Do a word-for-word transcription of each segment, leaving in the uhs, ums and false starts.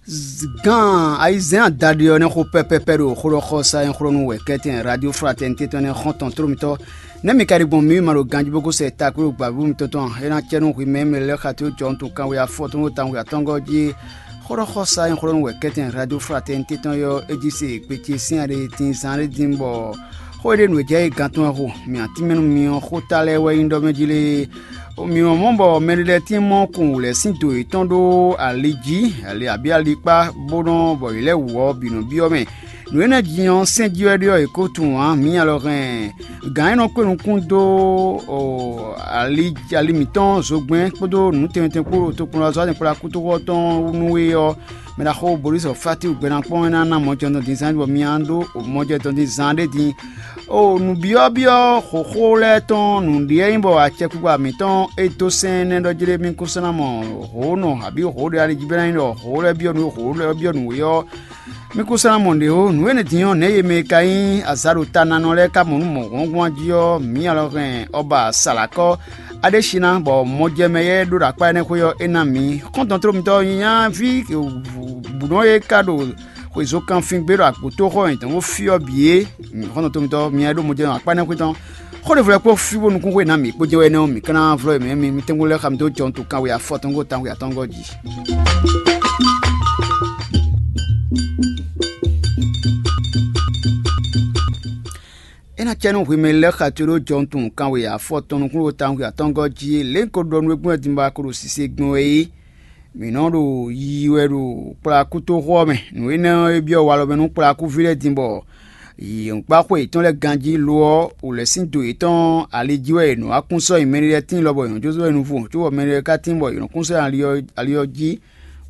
Gǎn ayizɛ́n adaɖé ɔ́ nɛ́ xo pɛ́pɛ́pɛ́ ɖo xó ɖɔ xɔ sa nyí xlɔ́ nú wɛ̌kɛ́tɛn Radio Fraternité tɔn nɛ́ xɔ́ntɔn tló mitɔ́. Nɛ́ mi ka ɖi gbɔn mǐ ma ɖo ganjí bó ko sɛ takpé ɖo gbǎvú mitɔn tɔn a? É ná cɛ nú hwi mɛ e mɛ lɛ́ɛ xatójɔ́ntɔn kanwe afɔtɔn ɖo tawun atɔ́ngɔ́ jí é. Xó ɖɔ xɔ sa nyí xlɔ́ nú wɛ̌kɛ́tɛn Radio Fraternité tɔn ɔ́, é jí se gbecé sín aɖe din zán ɖé din bɔ xó e ɖe nǔ e jɛ é gán tɔn wɛ xo. Mǐ atínmɛnu mi ɔ́, xóta lɛ́ɛ wɛ nyí ɖɔ mɛ jí lé. Mǐ nɔ mɔ bɔ mɛɖé lɛ́ɛ tín mɔ kun wǔlɛ́ sín do yětɔn ɖó ali jí, ali abǐ alikpá, bó nɔ bɔ yě lɛ́ wǔ ɔ́ bǐ nɔ byɔ́ mɛ. Nǔ énɛ́ jí ɔ́, sɛ́n jí wɛ ɖé ɔ́, yě ko tunwun ǎ. Mǐ alɔ hɛn gǎn e nɔ kpé nukún dó ali ali mǐtɔn zogbɛ́n kpódó nǔ tɛnmɛ tɛnmɛ kpó ɖo tokpɔnlɔzɔ́ kpó ɖo akútoxɔ tɔn nú é ɔ́, mɛ ɖaxó Bolísɔ Fátíwu gbɛ́ ná kpɔ́n é ná ná mɔjɛdɔn din zán bɔ mi ná ɖó mɔjɛdɔn din zán ɖé din. O nǔbyɔ́byɔ́ xǒxó lɛ́ɛ tɔn nǔɖé nyí bɔ acɛkpikpa mǐtɔn e dó sɛn énɛ́ ɖɔ jí ɖé mì kún sɔ́ ná mɔ hǒnɔ abǐ hǒ ɖé ali jí bɛ́ ná nyí ɖɔ hǒ lɛ́ɛ byɔ́ nǔ e hǒ lɛ́ɛ byɔ́ nǔ é ɔ́, mì kún sɔ́ ná mɔ nǔɖé ó. Nǔ énɛ́ din ɔ́, nɛ̌ e mɛ e ka nyí azǎɖotanánɔ lɛ́ɛ ka mɔ nú mɔ̌hwɔ́nhwɔ́n jí ɔ́, mǐ alɔ hɛn ɔ́ ba Salakɔ́ Aɖésiná, bɔ mɔjɛmɛ e ɖo ɖo akpá énɛ́ xwé ɔ́, é ná mǐ. Xɔ́ntɔn tló mitɔ́ ɔ́ nyí nyaví bǔnɔ e ka ɖo xwezókanfín gbé ɖo agbǒtóxɔ mǐtɔn bó fyɔ́ bǐ é. Xɔ́ntɔn tló mitɔ́, mi e ɖo mɔjɛmɛ akpá énɛ́ xwé tɔn, xó ɖěvo lɛ́ɛ kpó fí bónú kún xwé ná mǐ kpó jɛ́n wɛ énɛ́ ɔ́, mǐ ka ná vlɔ́ mǐ mǐ tɛ́nkpɔ́n lɛ́ɛ xa mi dó jɔ nú tɔn kanwe afɔtɔn gó tawun atɔngɔ́ jí. É ná cɛ nú hwemɛ lɛ́ɛ xa to ɖó jɔnutun kanwe afɔtɔn nukúnɖó tawun atɔngɔ́ jí é. Lě un ko ɖɔ nú we gbɔn din bɔ a ko ɖo sise gbɔn wɛ é. Mǐ nɔ ɖo yiyi wɛ ɖo kplakútoxo ɔ́ mɛ. Nǔ énɛ́ ɔ́, é byɔ́ walɔ mɛ nú kplakúví lɛ́ɛ din bɔ yǐyɔ́kpáxo yětɔn lɛ́ɛ ganjí; lo ɔ́, wǔlɛ́ sín do yětɔn ali jí wɛ yě nɔ wá kún sɔ́ nyi mɛɖé lɛ́ɛ tíin lɔbɔ yě nɔ jó sɔ́ nyi nuvú, cóbɔ mɛɖé lɛ́ɛ ka tíin bɔ yě nɔ kún sɔ́ nyi ali ɔ́ jí,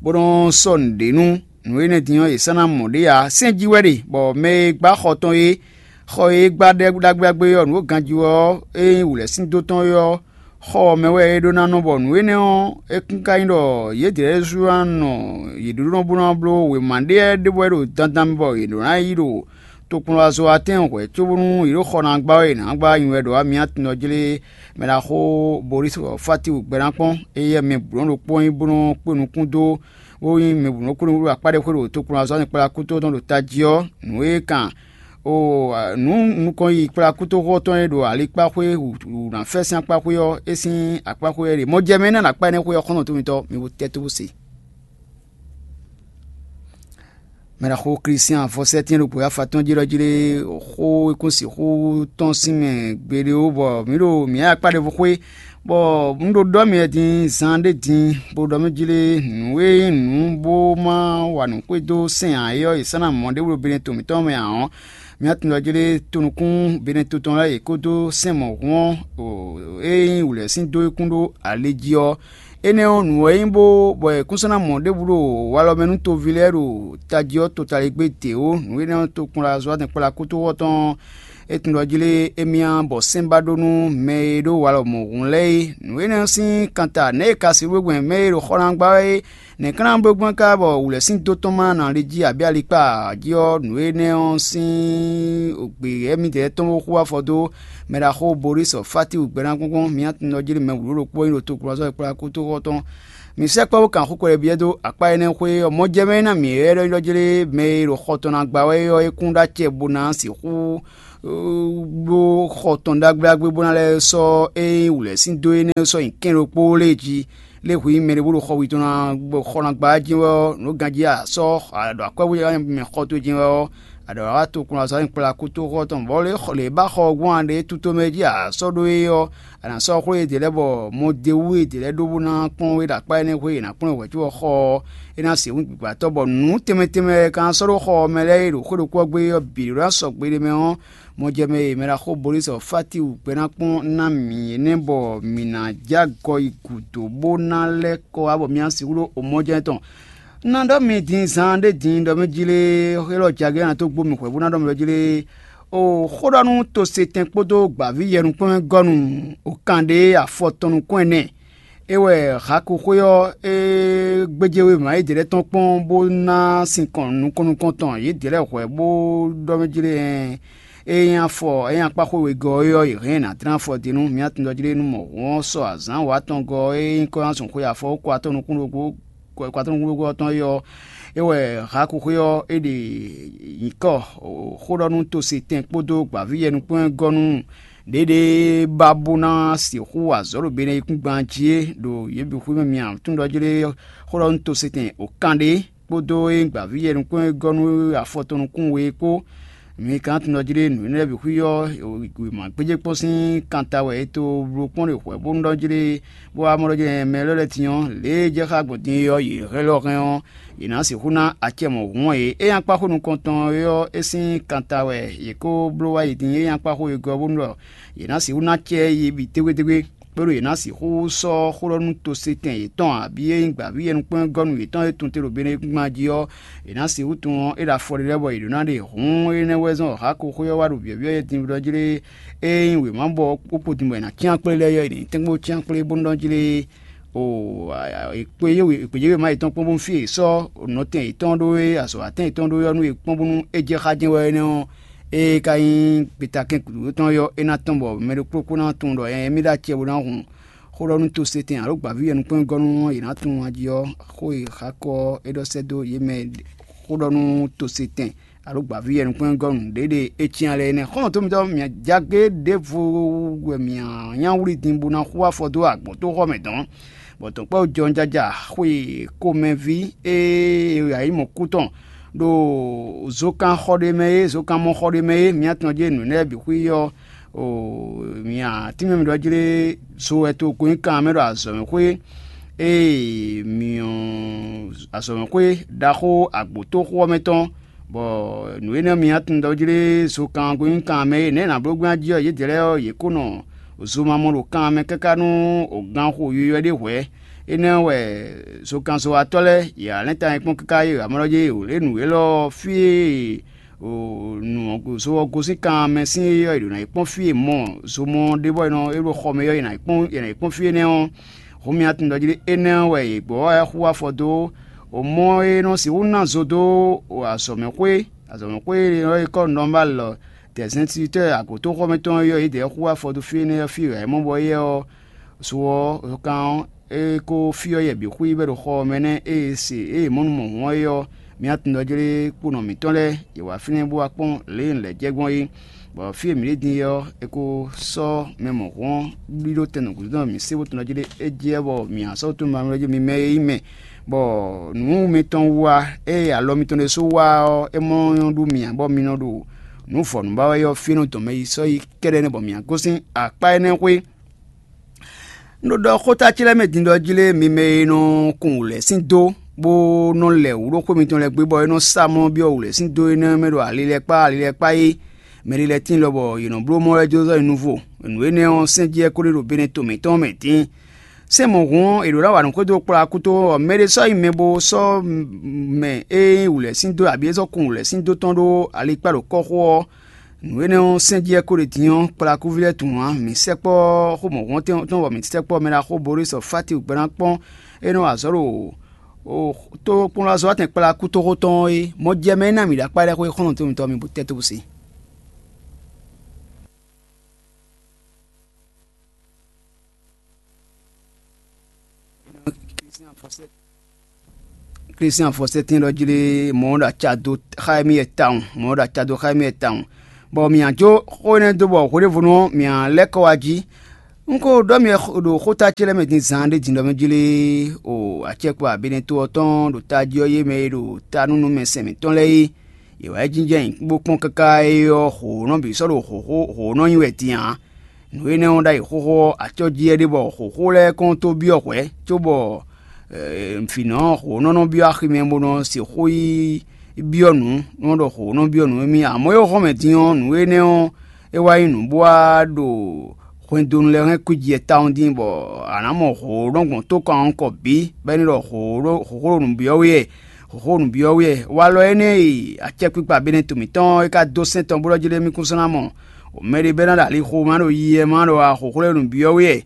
bó nɔ́ sɔ́ nǔɖé nú. Nǔ énɛ́ din ɔ́, yě sɔ́ ná mɔ ɖě ǎ. Sɛ́n jí wɛ ɖe, bɔ mɛ e gbá xɔ tɔn é, xɔ e é gbá ɖagbe ɖagbe ɔ́, nǔ e ganjí ɔ́, é nyí wǔlɛ́ sín dó tɔn é ɔ́, xɔ ɔ́ mɛ wɛ é ɖó ná nɔ, bɔ nǔ énɛ́ ɔ́, é kún ka nyí ɖɔ yědɛɛ lɛ́ɛ sú ná nɔ yě ɖóɖó bó ná bló wěma ɖé lɛ́ɛ ɖěbǔ wɛ ɖo dandan mɛ bɔ yě ɖó ná yi ɖo tokpɔnlɔzɔ́watɛn hwɛ̌ cóbónú yě ɖo xɔ ná gbá wɛ yě ná gbá nyi wɛ ɖo amyatɔn ɔ́ jlé. Mɛ ɖaxó Bolísu Fátiwu gbɛ ná kpɔ́n, éyɛ́ mɛ bǔ nɔ́ ɖokpó nyí bó nɔ́ kpé nukún dó, bó nyí mɛ bǔ nɔ́ kpé nukún ɖo akpá ɖé xwé ɖo tokpɔnlɔzɔ́ kplakútɔ́ tɔn ɖo tají ɔ́, nǔ e kan o nǔ nukɔn yi kplakútoxo tɔn e ɖo alikpáxwé wǔ ná fɛ́ sín akpáxwé ɔ́, é sín akpáxwé wɛ ɖe. Mɔ jɛ mɛ é ná ɖo akpá énɛ́ xwé ɔ́ xɔ́ntɔn tómítɔn, mi bo tɛ́ tó bó se. Mɛ ɖaxó Klísián afɔsɛ́tɛ́n ɖo gbǒ afa tɔn jí ɖɔ jí ɖé, xó e kún sixú tɔ́n sín mɛ gbeɖé ó, bɔ mǐ ɖo mǐ akpá ɖěvo xwé, bɔ un ɖo ɖɔ mì wɛ din zan ɖé din, bó ɖɔ mì jí ɖé, nǔ e nyí nǔ bó má wa nǔ xwedó sɛn ǎ é ɔ́, è sɔ́ ná mɔ ɖěbǔ ɖo Benɛto mǐtɔn mɛ ǎ ɔ́, mǐ tunwun ɖɔ jí ɖé tonukún Benɛto tɔn lɛ́ɛ yě kpódó sɛn mɔ̌hun ɔ́, e nyí wǔlɛ́ sín dó é kún ɖó ali jí ɔ́, énɛ́ ɔ́, nǔ wɛ nyí bó bɔ è kún sɔ́ ná mɔ ɖěbǔ ɖo walɔ mɛ nú toví lɛ́ɛ ɖo tají ɔ́ totaligbé dě ó. Nǔ énɛ́ ɔ́, tokpɔnlazɔ́ kplakútoxɔ tɔn ɔ́, é tunwun ɖɔ jí lé émí ǎ, bɔ sɛ́n ba ɖó nú mɛ e ɖó walɔ mɔ̌hun lɛ́ɛ é. Nǔ énɛ́ ɔ́ sín kanta nɛ̌ è ka sixú gbɛn mɛ e ɖo xɔ ná gbá wɛ é? Nɛ̌ ka ná bló gbɔn ká bɔ wǔlɛ́ sín dó tɔn ma ná lí jí abǐ alikpá jí ɔ́, nǔ énɛ́ ɔ́ sín gbe ɛ́ mǐdɛɛ tɔn bó xú afɔ dó mɛ ɖaxó Bolísɔ Fátiwu gbɛ́ ná gɔ́ngɔ́n mǐ tunwun jí mɛ wǔlú ɖokpó nyí ɖo tokpɔnzɔ́ e kplá kútóxɔ tɔn. Mǐ sɛkpɔ́ bó kan xó kpɛɖé byɔ́ dó akpá énɛ́ xwé ɔ́, mɔjɛmɛ e ná mǐ ylɔ́ ylɔ́ jí lé mɛ e ɖo xɔ tɔn ná gba wɛ é ɔ́, é kún ɖó acɛ bó ná sixú ɖó xɔ tɔn ɖagbe ɖagbe bó ná lɛ́ sɔ́ ényí wǔlɛ́ sín dó énɛ́ sɔ́ nyi kɛ́n ɖokpó lé jí. Lé hwi nyí mɛɖé bó ɖo xɔ wi tɔn ná bɔ xɔ ná gbá jí wɛ ɔ́, nǔ ganjí a sɔ́ a ɖo akwɛ́ bó mɛ xɔ towe jí wɛ ɔ́, a ɖǒ wá to kplɔ́nzɔ́ nyi kplá kútóxɔ tɔn, bɔ lě ba xɔ ɔ́ gbɔn a ɖě tutomɛ jí a sɔ́ ɖó é ɔ́, a nǎ sɔ́ xwlé yědɛɛ lɛ́ɛ bɔ mɔdewú yědɛɛ lɛ́ɛ ɖó bó ná kpɔ́n é ɖo akpá énɛ́ xwé è nǎ kplɔ́n wɛ̌cúvɔ xɔ ɔ́, é ná se hǔn gbǐgbátɔ́, bɔ nǔ tɛnmɛ tɛnmɛ e ka ná sɔ́ ɖó xɔ ɔ́ mɛ lɛ́ɛ e ɖo xwé ɖokpó ɔ́ gbé ɔ́ bǐ ɖó ná sɔgbe ɖ'é mɛ ɔ́, mɔjɛmɛ e mɛ ɖaxó Bolísɔ Fátiwu gbɛ́ ná kpɔ́n ná mǐ énɛ́ bɔ mǐ ná jɛ agɔ yi gǔdo bó ná lɛ́ kɔ wá bɔ mǐ ná sixú ɖó omɔjɛ́n tɔn. Un ná ɖɔ mi din zaan ɖé din ɖɔ mɛ jí lé, élɔ́ jagě ná tó gbó mì hwɛ̌ bó ná ɖɔ mɛ ɖɔ jí lé. O xó ɖɔ nú tosetɛn kpódó gbǎví yɛnukpɔ́nmɛgɔ́nu o kan ɖé afɔ tɔn nukún ɛnɛ. É wɛ Haku xwé ɔ́, é gbéjé wěma yědɛɛ lɛ́ɛ tɔn kpɔ́n bó ná sinkɔn nukɔn nukɔn tɔn yědɛɛ lɛ́ɛ hwɛ̌ bó ɖɔ mɛ jí lé. É nyí afɔ, é nyí akpáxwé wegɔ́ é ɔ́, yě hɛn ná dlán afɔ din nú mǐ atɔn jí lé nú mɔ̌hun ɔ́ sɔ azǎn wǒ atɔngɔ́ ɔ́, é nyí kɔ́ ná zun xwe afɔ ko atɔn nukún ɖokpó kwatɔ́núgbó ɔ́ tɔn é ɔ́, é wɛ Haku xwé ɔ́ é ɖe nyǐkɔ xó ɖɔ nú tosetɛn kpódó gbǎvíyɛnukpɔ́n e gɔ́ nú ɖěɖée ba bó ná sixú wa azɔ̌ ɖo benɛyíkúngban jí é ɖo yě bǐ xwé mɛ. Mia tunɖɔjlé xó ɖɔ nú tosetɛn o kan ɖé kpódó é gbǎvíyɛnukpɔ́n e gɔ́ nú afɔ tɔn nukún we é kpó. Mi ka tunɖɔjlé nǔ énɛ́ lɛ́ɛ bǐ xwí ɔ́, wěma gbéjé kpɔ́n sín kanta wɛ è to bló kpɔ́n ɖe hwɛ̌ bónú ɖɔ jlé bó wá mɔ ɖɔ jlé mɛ lɛ́ɛ lɛ́ɛ din ɔ́, lě e jɛ xá gbɔn din é ɔ́, yě hɛn lɔ hɛn ɔ́, yě ná sixú ná acɛ mɔ̌hun ɔ́ yě. É nyí akpáxó nukɔntɔn é ɔ́, é sín kanta wɛ yě kó bló wá yi din. É nyí akpáxó e gɔ́ bónú ɖɔ yě ná sixú ná acɛ yi bǐ tégbétégbé, bónú yě ná sixú sɔ́ xó ɖɔ nú tosetɛn yětɔn abǐ e nyí gbǎví yɛnukpɛ́núgɔ́nú yětɔn e tun te ɖo benɛkúngban jí ɔ́, yě ná sixú tunwun ɔ́, é ɖo afɔ ɖé lɛ́ɛ bɔ yě ɖó ná ɖe hǔn énɛ́ wɛ zɔ́n Hako xwé ɔ́ wá ɖo byɔ̌byɔ́ yɛ din ɖɔ jlé. Ényí wěma bɔ kpókpo din bɔ è nǎ cyán kplé lɛ́ɛ ɔ́, è nǐ tɛ́nkpɔ́n cyán kplé bónú ɖɔ jlé. O, gbějéwéma yětɔn kpɔ́n bónú fí e è sɔ́ nɔtɛn yětɔn ɖó é, azɔ̌watɛn yětɔn ɖó é ɔ́, nú è kpɔ́n bónú é jɛ xá jɛ́n wɛ énɛ́ ɔ́, ée ka nyí gbeta kɛ́n gǔdo tɔn ɔ́, é ná tɔ́n bɔ mɛ ɖokpó kó ná tunwun ɖɔ nyɛ mì ɖó acɛ bó ná hun xó ɖɔ nú tosetɛn alo gbǎví yɛnukpɛ́núgɔ́nú ɔ́, yě ná tunwun ají ɔ́, xó e Xakɔ́ ɔ́ é ɖɔ sɛ́ dó yě mɛ xó ɖɔ nú tosetɛn alo gbǎví yɛnukpɛ́núgɔ́nú ɖěɖe é cyán lɛ́ɛ nɛ́. Xɔ́ntɔn mitɔn, mǐ jagé ɖěvo wɛ mǐ nya wlí din bó ná xú afɔ dó agbǒtóxɔ mɛ dɔn, bɔ dɔ̌nkpɛ́ jɔnjaja xwe komɛví e yǎ yi mɔ kú tɔn ɖo zokan xɔ ɖé mɛ é, zokan mɔ xɔ ɖé mɛ é, mǐ atɔn jɛ́n nǔ lɛ́ɛ bǐ xwí ɔ́, o mǐ atínmɛ mǐ ɖɔ jlé zo wɛ togun nyí kan mɛ ɖo azɔ̌mɛxwé e mǐ azɔ̌mɛxwé ɖaxó agbǒtóxó ɔ́ mɛ tɔn, bɔ nǔ énɛ́ mǐ atɔn ɖɔ jlé zokan nyí kan mɛ é, nɛ̌ è nǎ bló gbɛ́ jí ɔ́, yědɛɛ lɛ́ɛ ɔ́, yě kó nɔ zo ma mɔ ɖo kan mɛ káká nú ganxo yoyɔ ɖé hwɛ̌. Énɛ́ wɛ zokanzɔ́watɔ́ lɛ́ɛ, yě wá lɛ́n ta nyi kpɔ́n káká yě wǎ mɔ ɖɔ jé o lě nǔ élɔ́ ɔ́, fí e nǔ ɔ́ zo ɔ́ gosín kan mɛ sín é ɔ́, è ɖǒ ná yi kpɔ́n fí e mɔ zomɔ ɖé bɔ è nɔ é ɖo xɔ mɛ ɔ́, è nǎ yi kpɔ́n è nǎ yi kpɔ́n fí énɛ́ ɔ́. Hǔn mi atun ɖɔ jí ɖé énɛ́ ɔ́ wɛ yě gbɔ wá xú afɔ dó mɔ e nɔ sixú ná zo dó azɔ̌mɛxwé azɔ̌mɛxwé e nɔ e kɔ́ nɔmál lɔ dɛ̌zɛntíwítɔ́ agǒtóxɔmɛtɔn e yɔ́ yědɛɛ xú afɔ dó fí énɛ́ ɔ́ fí wɛ é mɔ bɔ éyɛ́ ɔ́, zo ɔ́, kan ɔ́, é ko fyɔ́ yɛ bǐ xwí bɔ é ɖo xɔ ɔ́ mɛ nɛ́. Ée se ée mɔ̌ nu mɔ hǔn ɔ́ é ɔ́, mǐ atundɔjlé kponɔ mǐtɔn lɛ́ɛ, yě wá fínɛ́ bó wá kpɔ́n lě e un lɛ̌ jɛ gbɔn é. Bɔ fí e mǐ ɖe din é ɔ́, è ko sɔ́ mɛ mɔ̌hun ɔ́ ɖíɖó tɛn nǔgbígbɔ́n mǐ sé bó tunwun jí ɖé é jɛ bɔ mǐ ná sɔ́ tunwun mɛ jí mi mɛ e nyí mɛ, bɔ nǔ mitɔn wú wá, ée alɔ mitɔn ɖésú wá ɔ́, é mɔ nyɔ́ ɖú mì ǎ, bɔ mi nɔ ɖo nǔ vɔ̌nu ba wɛ ɔ́ fínú dɔ̌n mɛ yi sɔ́ yi kɛ́ɖɛ́ nɛ́ bɔ mǐ ná gosín akpá énɛ́ xwé. Un ɖo ɖɔ xóta ce lɛ́ɛ mɛ din ɖɔ jí lé mi mɛ e nɔ kun wǔlɛ́ sín dó, bó nɔ lɛ wǔ ɖó xwé mitɔn lɛ́ɛ gbé, bɔ é nɔ sá mɔ byɔ́ wǔlɛ́ sín dó énɛ́ mɛ ɖo ali lɛ́ɛ kpá ali lɛ́ɛ kpá é. Mɛ ɖé lɛ́ɛ tíin lɔbɔ yě nɔ bló mɔ wɛ jó zɔ́ nyi nuvo. Nǔ énɛ́ ɔ́, sɛ́n jí wɛ kó ɖe ɖo bene to mǐtɔn mɛ dín. Sɛ́n mɔ̌hun ɔ́, è ɖǒ ná wa nǔ xwedó kplɔ́ akúto, bɔ mɛ ɖé sɔ́ nyi mɛ bó sɔ́ mɛ e nyí wǔlɛ́ sín dó abǐ é sɔ́ kun wǔlɛ́ sín dó tɔn ɖó alikpá ɖo kɔ́xo ɔ́. Nǔ énɛ́ ɔ́, sɛ́n jí wɛ kó ɖe din ɔ́, kplakúví lɛ́ɛ tunwun ǎ. Mǐ sɛkpɔ́ xó mɔ̌hun tɔn, bɔ mǐ sɛkpɔ́ mɛ ɖaxó Borísɔ Fáti gbɛ́ ná kpɔ́n é nɔ wa azɔ̌ ɖo tókplɔ́nzɔ́watɛn kplakútoxo tɔn ɔ́ é. Mɔjɛmɛ e ná mǐ ɖo akpá lɛ́ɛ xwé xɔ́ntɔn mitɔn mi bó tɛ́ tó bó se. Klísián fɔsɛ́tín ɖɔ jí lé mɔ̌ ɖo aca dó xá émí wɛ tawun, mɔ̌ ɖo aca dó xá émí wɛ tawun, bɔ mǐ ná jó xó énɛ́ dó bɔ hweɖěvɔ́nu ɔ́, mǐ ná lɛ́ kɔ wá jí. Un ko ɖɔ mi ɖo xóta ce lɛ́ɛ mɛ din zaan ɖé din ɖɔ mɛ jí lé o acɛkpɔ abinɛto ɔ́ tɔn ɖo tají ɔ́ yé mɛ e ɖo ta nú nú mɛ sɛn mǐtɔn lɛ́ɛ é. Yě wá yi jínjɔ́n ayǐ bó kpɔ́n káká é ɔ́, hǒnɔ bǐ sɔ́ ɖo hǒnɔ nyi wɛ din ǎ. Nǔ énɛ́ ɔ́ ɖ'ayǐ xóxó ɔ́, acɔ́jí wɛ ɖe bɔ hǒxó lɛ́ɛ kɔn tó byɔ́ hwɛ̌, cóbɔ vǐnɔ hǒnɔ nɔ byɔ́ aximɛ bó nɔ sixú yi byɔ́ nǔ, nɔ ɖɔ hǒnɔ byɔ́ nǔ émí ǎ. Amɔ̌ é hɔn mɛ din ɔ́, nǔ énɛ́ ɔ́, é wá nyí nǔ bó wá ɖo hwɛndonu lɛ́ɛ hɛn kwíji tawun dín, bɔ a nǎ mɔ hǒnɔ gbɔn tó kɔn kɔ bǐ, bɔ é ní ɖɔ hǒxó ɖo nǔ byɔ́ we wɛ, hǒxó nǔ byɔ́ we wɛ. Walɔ énɛ́ e acɛkpikpa Benɛto mǐtɔn ɔ́, é ka dó sɛ́n tɔn bó ɖɔ jí ɖé mì kún sɔ́ ná mɔ mɛ ɖé bɛ́ ná ɖo alixo ma ɖo yiyi wɛ ma ɖo axoxó lɛ́ɛ nǔ byɔ́ we wɛ.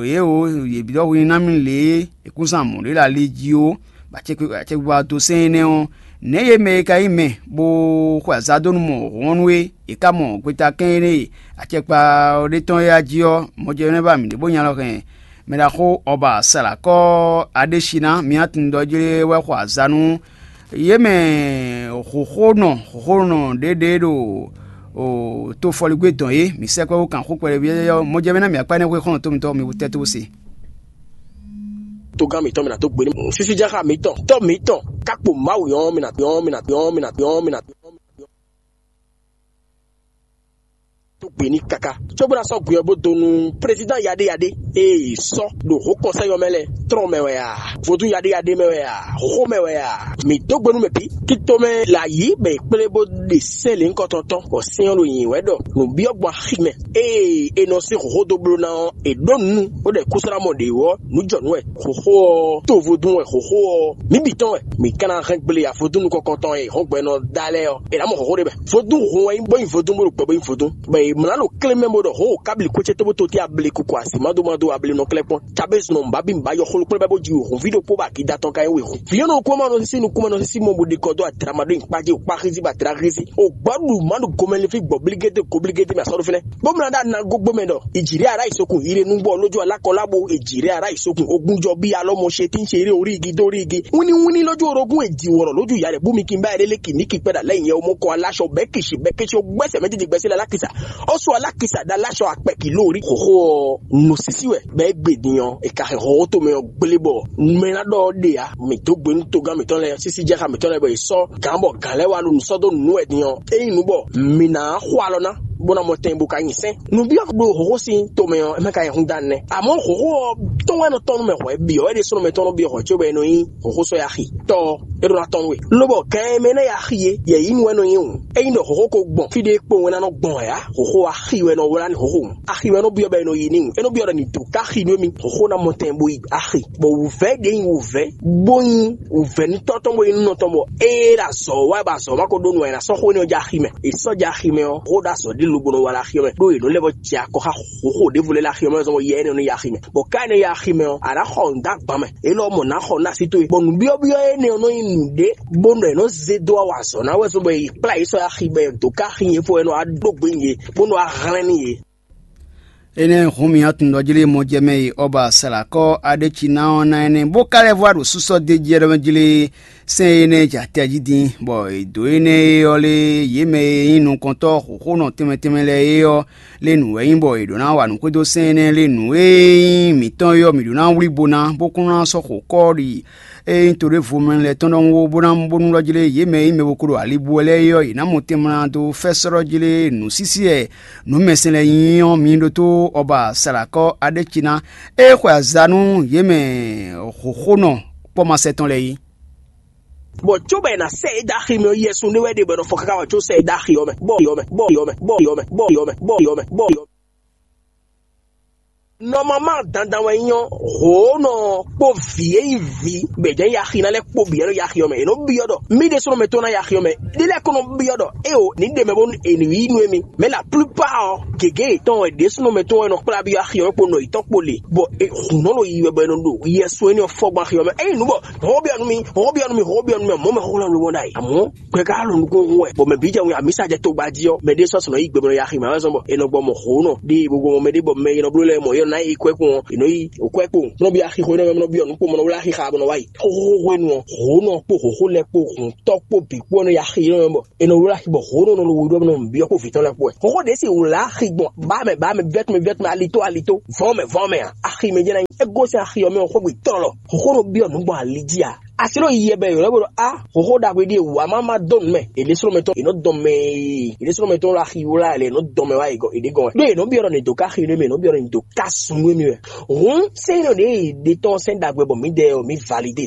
Yě o, yě byɔ́ hwenu ná mì lě e è kún zán mɔ̌ ɖé ɖo ali jí ó, bɔ acɛkpikpa dó sɛ́n énɛ́ ɔ́, nɛ̌ yě mɛ e ka nyí mɛ bó xwe azǎn dó nú mɔ hɔn nú é? È ká mɔ gbetakɛ́n énɛ́ e acɛkpa ɔ́ ɖe tɔn é a jí ɔ́, mɔjɛ́nɛ́ ba mǐ ɖě bó nya lɔ hɛn Mɛ ɖaxó Ɔba Salakɔ Adéṣiná, mǐ atundɔjlé wɛ xɔ azǎn nú yě mɛ xǒxónɔ xǒxónɔ ɖěɖě ɖo o tofɔligbé dɔn é. Mǐ sɛkpɛ́ wú kan xó kpɛɖé byɔ́yɔ́ mɔjɛmɛ ná mǐ akpá énɛ́ xwé xɔ́n tɔn mitɔn mi wú tɛ́ tó se. Togán mǐtɔn mǐ ná dó gbe ní sísíjáxa mǐtɔn tɔ́ mǐtɔn kákpo Mawu yɔn mǐ ná yɔn mǐ ná yɔn mǐ ná yɔn mǐ ná yɔn mǐ ná yɔn. Tó gbe ní káká cóbó ná sɔ́ gbe ɔ́ bó dó nú président yaɖéyaɖé ee sɔ́ ɖo hǒkɔnsɛ́ yɔ́ mɛ lɛ́ɛ trɔ́n mɛ wɛ a? Vodún yaɖéyaɖé mɛ wɛ a? Xó mɛ wɛ a? Mǐ dó gbe nú mɛ bǐ. Tito mɛ la yǐ bɔ è kplé bó ɖe sɛ́n lě ŋkɔtɔn tɔn, bɔ sɛ́n ɔ́ ɖo nyi wɛ ɖɔ nǔbyɔ́ gbɔn axi mɛ. Ée è nɔ sín xǒxó dó bló ná ɔ́, è ɖǒ nǔ bó ɖɔ è kúsú ná mɔ ɖě wú ɔ́, nǔ jɔ nǔ wɛ. Xǒxó ɔ́, to vodún wɛ xǒxó ɔ́, mǐ bǐ tɔn wɛ. Mǐ ka ná hɛn gble avodún nukɔntɔn e hɔngbɛ́nɔ da lɛ́ɛ ɔ́, è nǎ mɔ xɔxó ɖé mɛ. Vodún hun wɛ nyí bó nyí vodún bó ɖo gbɛ bó nyí vodún. Bɔ è mlǎ ɖo klé mɛ bó ɖɔ hǒ kábli kó ce tó bó tó tí abli kuku asi mado mado abli nɔ klɛ́ kpɔ́n. Cabézu nɔ nǔbábí nǔbá yɔ xló kplɔ́n bɛ́ bó ji wěhun ví ɖokpó bɔ akida tɔn ka nyí wěhun. Vǐ ɔ́ nɔ kú ma nɔ sísí nukún ma nɔ sísí mɔ bó ɖe kɔ dó adra ma ɖó nyǐkpá jí, wǒ kpá xízí bɔ adra xízí. O gbɔ́ ɖu má ɖo gomɛlɛfí gbɔ̌blígédé goblígédé mɛ asɔ́ ɖó fínɛ́. Bó mlá ɖá nago gbɔmɛ ɖɔ ìjìrè ara ìsokùn ire nú bɔ lójú alákɔlábo ìjìrè ara ìsokùn ogunjɔ bí alɔmɔ ṣe tí ń ṣe eré orí igi dórí igi wíníwíní lójú orogún èjì wọ̀rọ̀ lójú ìyá rẹ̀ bú mi kí n bá eré lékì mí kí pẹ́ dà lẹ́yìn ẹ̀ ọmọ kọ aláṣọ bẹ́kìṣì bẹ́kìṣì gbẹ́sẹ̀ méjèèjì gbẹ́sẹ̀ lẹ́ alákìsà ó sọ alákìsà dá aláṣọ àpẹ̀kì lórí xòxó ọ̀ nù sísí wẹ̀ bẹ́ẹ̀ gbè dìyàn ìkàhìn xɔxó tó mɛ ɔ gblé bɔ mɛ ná ɖɔ ɔ́ ɖe ǎ. Mǐ dó gbe nú togán mǐtɔn lɛ́ɛ sísí jɛxa mǐtɔn lɛ́ɛ bɔ è sɔ́ gǎn bɔ gǎn lɛ́ɛ wá ɖo nǔ sɔ́ dó nǔ wɛ din ɔ́, ényí nǔ bɔ mǐ ná xo alɔ ná bó ná mɔ tɛn bó ka nyi sɛ́n. Nǔbyɔ́ ɖo hǒxo sín tomɛ ɔ́, é mɛ ka nyí húndánú nɛ́. Amɔ̌ hǒxo ɔ́ tɔn wɛ nɔ tɔn nú mɛ hwɛ̌ bǐ ɔ́, é ɖésúnɔ mɛ tɔn nɔ byɔ́ hwɛ̌ cóbɔ é nɔ nyí hǒxo sɔ́ yá axi. Tɔ ɔ́, é ɖó ná tɔn nú we. Lobɔ gǎn e mɛ ná yá axi é, yɛ̌yínú wɛ nɔ nyí hǔn. Ényí ɖɔ hǒxo ko gbɔn fí ɖé kpowun é ná nɔ gbɔn ǎ, hǒxo axi wɛ nɔ wlá ní hǒxo hǔn. Axi wɛ nɔ byɔ́ bɔ é nɔ yi ní hǔn. É nɔ byɔ́ ɖɔ ní dǒ ká axi nú émí, hǒxo ná mɔ tɛn bó yi axi. Bɔ wǔvɛ́ ɖě nyí wǔvɛ́ bó nyí wǔvɛ́nútɔ́ tɔn bó nyí nǔnɔ tɔn bɔ ée ɖo azɔ̌ wa bɔ azɔ̌ ma ko ɖó nu ǎ, è nǎ sɔ́ xó énɛ́ ɔ́ jɛ axi mɛ. È sɔ́ jɛ axi mɛ ɔ́, xó ɖo azɔ̌ ɖé lobo nɔ wa ɖo axi ɔ́ mɛ, ɖó è nɔ lɛ́ vɔ jɛ akɔ xá hǒxo ɖěvo lɛ́ɛ ɖo axi ɔ́ mɛ zɔn bɔ yɛ énɛ́ ɔ́ nɔ yi axi mɛ. Bɔ ká énɛ́ yi axi mɛ ɔ́, a nǎ xɔ nǔ dó agban mɛ. Élɔ́ mɔ nǎ xɔ nú así towe. Bɔ nǔbyɔ́byɔ́ énɛ́ ɔ́ nɔ nyí nǔɖé bó nɔ è nɔ zé dó wa azɔ̌ ná wɛ zɔn bɔ è kplá yě sɔ́ axi bɔ è dǒ ká axi nyɛ fó wɛ nɔ wá ɖó gbe nyi yě, bó nɔ wá hlɛ́n nú yě. Énɛ́ hǔn mì atundɔjlí mɔjɛmɛ e Ɔba Salakɔ Aɖéciná ɔ́ ná énɛ́, bó ka lɛ́ vɔ ɖo súsɔ́ d'é jí ɔ́ jlé sɛ́n énɛ́ jɛ atɛ jí din, bɔ è dǒ énɛ́ e ɔ́ lé yě mɛ e nyí nukɔntɔ́ xǒxónɔ tɛnmɛ tɛnmɛ lɛ́ɛ é ɔ́ lé nǔ wɛ nyí, bɔ è ɖǒ ná wa nǔ xwedó sɛ́n énɛ́ lé nǔ e nyí mǐtɔn é ɔ́, mǐ ɖǒ ná wlí bo ná, bó kún ná sɔ́ xo kɔ́ ɖi. Ényí toɖévomɛ lɛ́ɛ tɔn ɖɔhun bó ná bónú lɔ́ jlé yě mɛ e nyí mɛ bo ko ɖo ali bú wɛ lɛ́ɛ é ɔ́, yě ná mɔ tɛnmɛ ná dó fɛ́sɔ́ lɔ́ jlé nǔsísí e nǔ mɛsɛn lɛ́ɛ nyí ɔ́, mi ɖótó Ɔba Salakɔ Aɖéciná e xwe aza nú yě mɛ hǒxónɔ kpɔ́masɛ tɔn lɛ́ɛ é. Bɔ cóbɔ è nǎ sɛ é dó axi mɛ ɔ́, yɛsun ɖé wɛ ɖe bɔ è nɔ fɔ káká wá có sɛ é dó axi ɔ́ mɛ, bɔ ɔ́ mɛ, bɔ ɔ́ mɛ, bɔ ɔ́ mɛ, bɔ ɔ́ mɛ, bɔ ɔ́ mɛ, bɔ ɔ́ mɛ. Nɔmama dandan wɛ nyí ɔ́, hǒnɔ kpó vǐ e nyí vǐ gbɛ̌jɛ́n yaxi ná lɛ́ɛ kpó bǐ wɛ nɔ yaxi ɔ́ mɛ. È nɔ byɔ́ ɖɔ mì ɖésúnɔ mɛ tɔn ná yaxi ɔ́ mɛ. Ɖé lɛ́ɛ ko nɔ byɔ́ ɖɔ éeǒ, ní ɖe mɛ bónú è nǐ yí nú émí. Mɛ la plupart ɔ́, gěgé yětɔn wɛ ɖésúnɔ mɛ tɔn wɛ nɔ kplá byɔ́ axi ɔ́ kpó nɔ yětɔn kpó le, bɔ hǔn nɔ ɖo yi wɛ bɔ è nɔ ɖo yɛsu énɛ́ ɔ́ fɔ gbɔn axi ɔ́ mɛ. Ényí nǔ bɔ hɔn byɔ́ nú mì, hɔn byɔ́ nú mì, hɔn byɔ́ nú mì, mɔ̌ mɛ xó lɛ́ɛ ló wɔn ɖ'ayǐ. Amɔ̌ gbɛ ka lɔ nukún hu wɛ, bɔ mɛ bǐ jɛ wɛ amǐsa jɛ togba jí ɔ́, mɛ ɖé sɔ́ sɔnɔ yí gbe bɔ nɔ yaxi mɛ wɛ zɔn bɔ è nɔ gbɔ mɔ hǒnɔ ɖe bo gbɔ mɔ mɛ ɖé bɔ mɛ e nɔ bló lɛ́ɛ mɔ yɛ nɔ ná yi kwɛ́ kpɔ́n ɔ́, è nɔ yi kwɛ́ kpɔ́n. Nɔ byɔ́ axi xó nɔ mɛ nɔ byɔ́ nukún mɔ nɔ wlá axi xa bɔ nɔ wá yi. Xóxó hwenu ɔ́, hǒnɔ kpó hǒxó lɛ́ɛ kpó hǔntɔ́ kpó bǐ kpó nɔ yi axi nɔ mɛ bɔ è nɔ wlá axi bɔ hǒnɔ nɔ lo we ɖɔ nɔ byɔ́ kpó vǐ tɔn lɛ́ɛ kpó wɛ. Xóxó ɖě si wlá axi gbɔn bá mɛ bá mɛ byɔ́ tɔn mɛ byɔ́ tɔn mɛ alitó alitó vɔ̌ mɛ vɔ̌ mɛ ǎ. Axi mɛ jɛ́n ná nyí é gosín axi ɔ́ mɛ ɔ́ xógbe tlɔlɔ. Xóxó nɔ byɔ́ nǔ gbɔn ali jí ǎ. Asi ɖo yiyɛ bɛ yǒlɔ bó ɖɔ a hǒxó ɖagbe ɖíe wǎ má má dó nǔ mɛ. Èɖésúnɔmɛ tɔn è nɔ dɔn mɛ e èɖésúnɔmɛ tɔn lɔ axi wlá lɛ è nɔ dɔn mɛ wá ègɔ èɖé gɔn wɛ. Ɖó è nɔ byɔ́ ɖɔ nǐ dó ká xi nú mì, è nɔ byɔ́ ɖɔ nǐ dó ká sun nú mì wɛ. Hǔn sɛ́n nɔ ɖě è ɖe tɔn sɛ́n ɖagbe bɔ mǐdɛɛ ɔ́ mǐ validé.